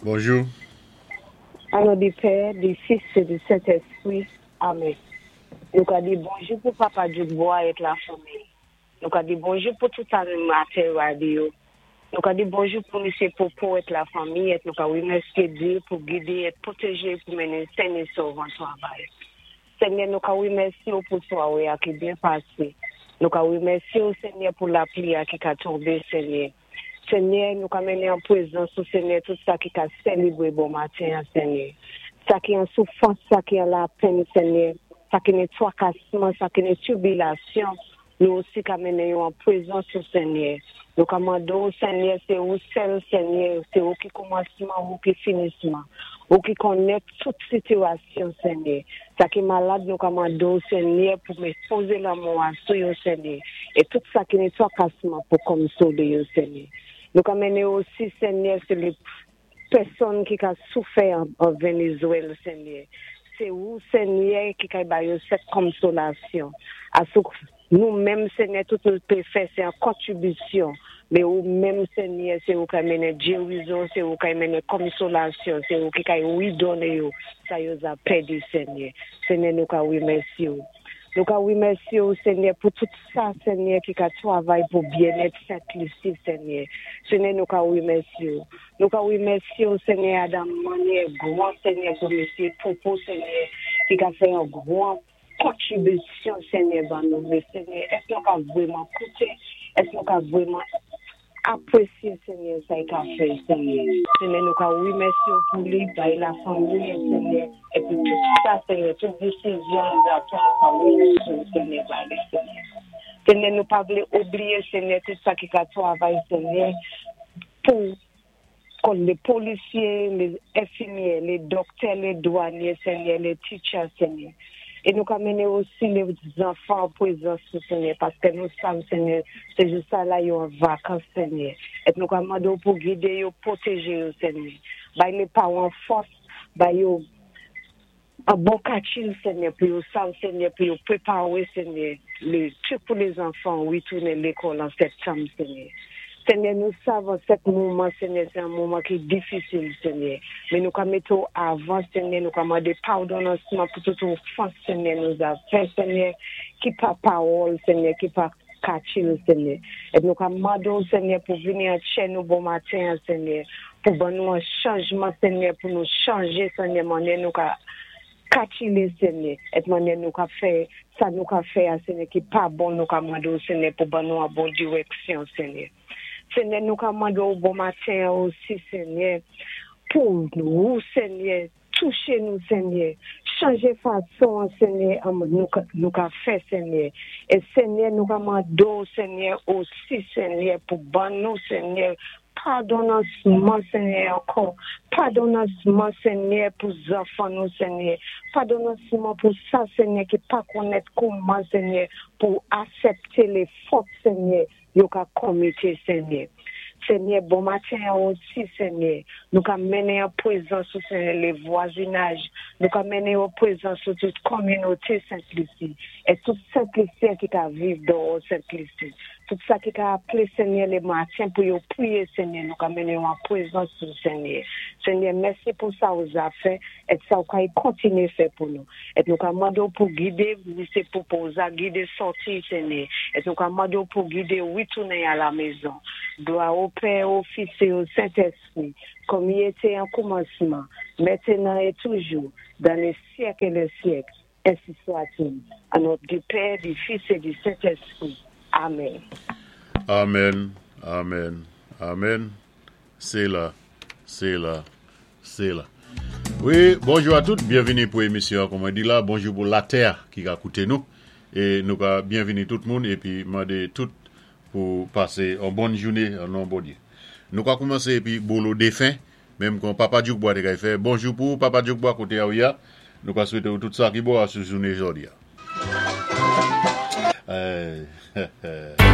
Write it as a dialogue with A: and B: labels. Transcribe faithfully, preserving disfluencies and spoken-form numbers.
A: Bonjou.
B: An non di Pè, di Fis é di Sentéspwi. Amèn. Nou ka di bonjou pou Papa Djoukbois é la fanmi. Nou ka di bonjou pou tout animatè radyo. Nou ka di bonjou pou Misyé Popo é la fanmi é nou ka wimèsyé Dye pou gidé é pwotéjé pou mennen sen é sov an travay. Senyè, nou ka wimèsyé ou pou swawé a ki byen pasé. Nou ka wimèsyé ou, Senyè, pou lapli a ki ka tonbé, Senyè. Senyè, nou ka mennen an pwézans ou, Senyè, tout sa ki ka sélébwé bon maten, Senyè. Sa ki an soufwans, sa ki an lapenn, Senyè, sa ki nan twakasman, sa ki nan tribilasyon, nou osi ka mennen yo an pwézans ou, Senyè. Nou ka mandé ou, Senyè, sé ou sèl, Senyè, sé ou ki kòmansman, ou ki finisman, ou ki konnèt tout sitiyasyon, Senyè. Sa ki malad, nou ka mandé ou, Senyè, pou mé pozé lanmen ou sou yo, Senyè. É tout sa ki nan twakasman pou konsolé yo, Senyè. Nou ka mennen osi, Senyè, sé lé pèsonn ki ka soufè an, an Vénézwél, Senyè. Sé ou, Senyè, ki ka ba yo sèt konsolasyon. Asou nou menm, Senyè, tout nou pé fè, sé an kontribisyon. Mé ou menm, Senyè, sé ou ka mennen gérizon, sé ou ka mennen konsolasyon, sé ou ki ka widoné yo, sa yo za pèdi, Senyè. Senyè, nou ka wimèsyé ou. Nou ka wimèsyé ou, Senyè, pou tout sa, Senyè, ki ka twavay pou byennèt Sent Lisi, Senyè. Senyè, nou ka wimèsyé ou. Nou ka wimèsyé ou, Senyè, Adam mannyè gwan, Senyè, pou Misyé Popo, Senyè, ki ka fè yon gwan kontribisyon, Senyè, ban nou. Mé Senyè, èsk nou ka vwéman kouté, èsk nou ka vwéman apwésyé, Senyè, sa i ka fè, Senyè. Senyè, nou ka wimèsyé ou pou li, bay la fanmi, Senyè, épi tout sa, Senyè, tout désizyon, nou a pran, nou ka wimèsyé ou, Senyè, bay li, Senyè. Senyè, nou pa vlé oubliyé, Senyè, tout sa ki ka twavay, Senyè, pou kon lé polisyé, lé enfimyè, lé doktè, lé dwanyé, Senyè, lé teacher, Senyè. É nou ka mennen osi lé zanfan an pwézans, Senyè, paské nou sav, Senyè, sé jou sa la yo an vakans, Senyè. É nou ka mandé ou pou gidé yo, pwotéjé yo, Senyè. Bay lé pawan fòs, bay yo an bon kachil, Senyè, pou yo sav, Senyè, pou yo pwépawé, Senyè, lé tout pou lé zanfan witounen lékòl an septanm, Senyè. Senyè, nou sav an sèt moman, Senyè, sé an moman ki difisil, Senyè. Mé nou ka mété ou avan, Senyè, nou ka mandé padonnansman pou tout ofans, Senyè, nou a fè, Senyè, ki pa pawòl, Senyè, ki pa kachil, Senyè. É nou ka mandé ou, Senyè, pou vini an tchè nou bon maten, Senyè, pou ban nou an chanjman, Senyè, pou nou chanjé, Senyè, mannyè nou ka kachilé, Senyè, é mannyè nou ka fè, sa nou ka fè a, Senyè, ki pa bon, nou ka mandé ou, Senyè, pou ban nou an bon diwéksyon, Senyè. Senyè, nou ka mandé ou bon maten osi, Senyè, pou nou, Senyè, touché nou, Senyè, chanjé fason, Senyè, nou, nou ka fè, Senyè. É Senyè, nou ka mandé ou, Senyè, osi, Senyè, pou ban nou, Senyè, padonnansman, Senyè, ankò. Padonnansman, Senyè, pou zanfan nou, Senyè. Padonnansman pou sa, Senyè, ki pa konnèt kouman, Senyè, pou asèpté lé fot, Senyè, yo ka konmité, Senyè. Senyè, bon maten osi, Senyè, nou ka mennen an pwézans ou, Senyè, lé vwazinaj, nou ka mennen an pwézans ou tout kominoté Sent Lisi, é tout Sent Lisyen ki ka viv dèyò Sent Lisi. Tout sa ki ka aplé, Senyè, lé maten pou yo pwiyé, Senyè, nou ka mennen an pwézans ou, Senyè. Senyè, mèsi pou sa ou za fè, é sa ou ka y kontiné fè pou nou. É nou ka mandé ou pou gidé, Misyé Popo, za gidé sòti, Senyè. É nou ka mandé ou pou gidé witounen a la mézon. Glwa o Pè, o Fis é o Sentéspwi, kòm i été an kòmansman, mentenan é toujou, dan lé syèk é lé syèk, ensi swa-t-il. An non di Pè, di Fis é di Sentéspwi. Amèn.
A: Amèn, amèn, amèn. Sé la, sé la, sé la. Wi, bonjou a tout, byenvini pou émisyon, kòm mwen di la, bonjou pou latè ki ka kouté nou, é nou ka byenvini tout moun, épi mandé tout pou pasé an bòn jouné an non Bondyé. Nou ka koumansé épi bolo défen, menm kon Papa Djoukbois té kay fè. Bonjou pou Papa Djoukbois koté a ou ya, nou ka swété ou tout sa ki bon a sou jouné jòdi a. Euh,